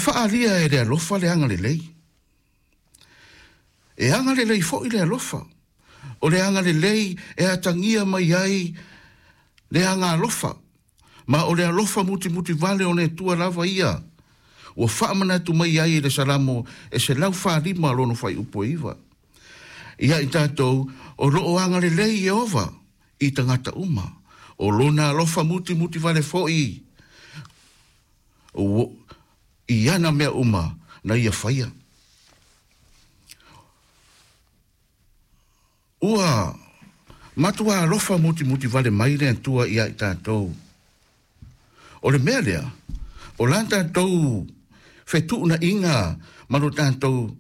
faaalia e le alofa le agalelei. E agalelei foi le alofa. O le agalelei e atagia mai ai le agalofa. Ma o le alofa mutimuti vale o le Atua lava ia. Ua faamanatu mai ai i le Salamo e 145 lona fuaiupu e 9. Ia i tatou, o loo agalelei Ieova i tagata uma. O lona alofa mutimuti vale foi i ana mea uma na ia faia. Ua matua alofa mutimuti vale mai le Atua ia i tatou. O le mea lea, o la tatou fetuunaiga ma lo tatou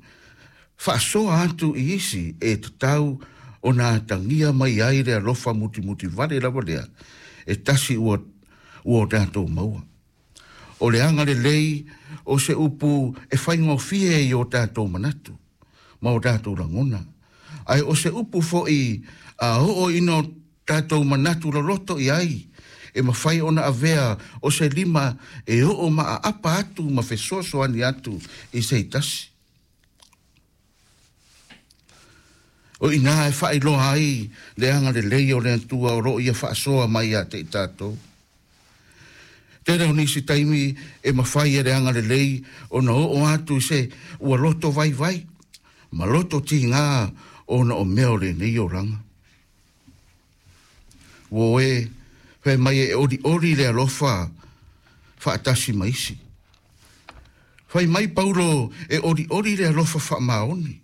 faasoa atu i isi e tatau ona atagia mai ai le alofa mutimuti vale lava lea, e tasi ua o tatou maua. O le agalelei o se upu e faigofie i o tatou manatu ma o tatou lagona. Ae o se upu foi a oo ina o tatou manatu loloto i ai, e mafai ona avea o se lima e oo maaapa atu ma fesoasoani atu i se tasi. O ina e faailoa ai le agalelei o le Atua o loo ia faasoa mai ia te i tatou. Tele o nisi taimi e mafai e le agalelei ona oo atu i se ua loto vaivai ma loto tiga ona o mea o lenei olaga. Ua e fai mai e olioli le alofa faatasi ma isi. Fai mai Paulo e olioli le alofa faamaoni.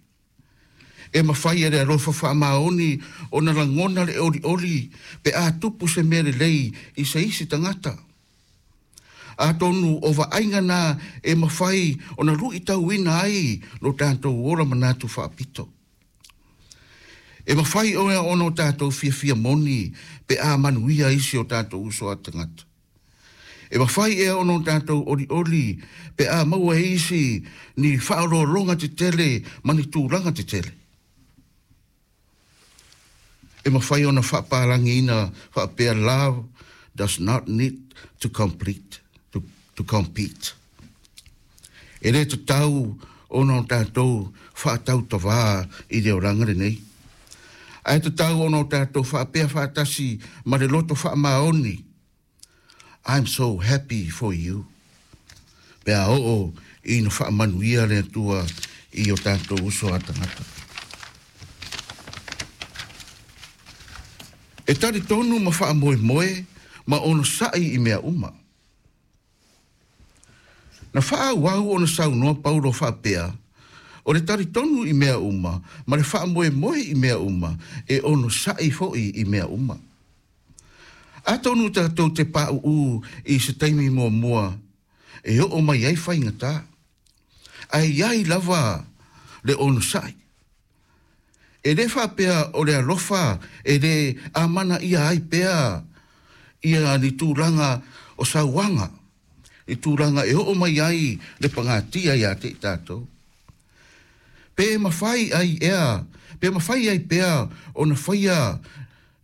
E mafai e le alofa faamaoni ona lagona le olioli pe a tupu se mea lelei i se isi tagata. Atonu o vaaiga na e mafai ona luitauina ai lo tatou ola manatu faapito. E mafai ona o tatou fiafia moni pe a manuia isi o tatou uso a tagata. E mafai ea ona o tatou olioli pe a maua e isi ni faaoloologa tetele ma ni tulaga tetele. E mafai ona faapalagiina faapea, love does not need to complete, to compete. E le tatau ona o tatou faatautavā i le olaga lenei. Ae tatau ona o tatou faapea faatasi ma le loto faamaoni, I'm so happy for you. Pe a oo ina faamanuia le Atua i o tatou uso a tagata. E talitonu ma faamoemoe ma onosai i mea uma. Na faaauau ona saunoa Paulo faapea, o le talitonu i mea uma ma le faamoemoe i mea uma e onosai foi i mea uma. Atonu tatou te pauu i se taimi muamua e oo mai ai faigata. Ae iai lava le onosai. E le faapea o le alofa e le amana ia ai pea ia ni tulaga o sauaga, i tulaga e oo mai ai le pagatia ia te i tatou. Pe mafai ai ea, pe mafai ai pea ona faia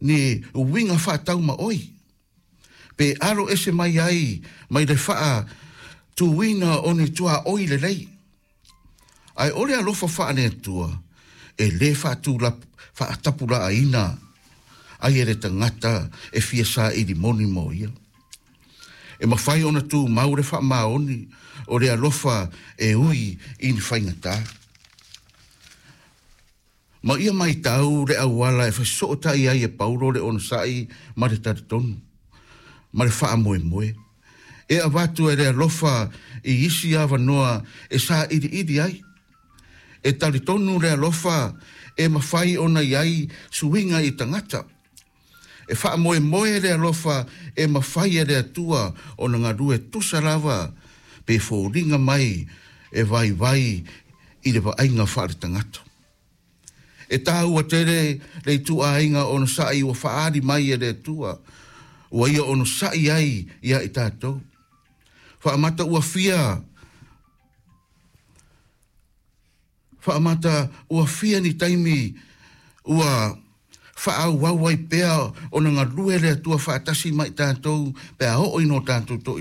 ni uiga faataumaoi. Pe alo ese mai ai mai le faatuina o ni tuaoi lelei. Ae o le alofa faale-Atua e le faatapulaaina ai e le tagata e fia saili moni mo ia. E mafai ona tumau le faamaoni o le alofa e ui i ni faigata. Ma ia maitau le auala e fesootai ai e Paulo le onosai ma le talitonu, ma le faamoemoe. E avatu e le alofa i isi avanoa e sailiili ai. E talitonu le alofa e mafai ona i ai suiga i tagata. E faamoemoe le alofa e mafai e le Atua ona galue tusa lava pe foliga mai e vaivai i le vaaiga faaletagata. E taua tele le ituaiga onosai ua faaali mai e le Atua, ua ia onosai ai ia i tatou. Faamata ua fia Faamata ua fia ni taimi ua faaauau ai pea ona galue le Atua faatasi ma i tatou pe a oo ina o tatou toilalo.